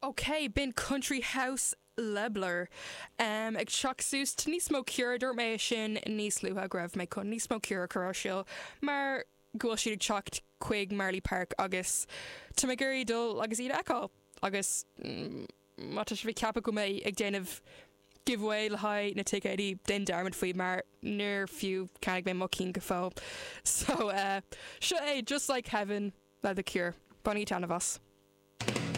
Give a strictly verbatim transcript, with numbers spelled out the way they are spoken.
Ok, b'in Country House le Blur. Um, ag teacht suas tá níos mó Cure dúirt mé sin níos luaithe go raibh mé chun níos mó Cure chur ar siúl mar go bhfuil siad ag teacht chuig Marlay Park agus tá mé ag iarraidh dul agus iad a fheiceáil agus mm, má tá sibh ag ceapadh go mbeidh ag déanamh giveaway le haghaidh na ticéidí déan dearmad faoi mar níor fiú cheannaigh mé mo cheann go fóill. So uh, seo é just like heaven le The Cure. Bainigí taitneamh as.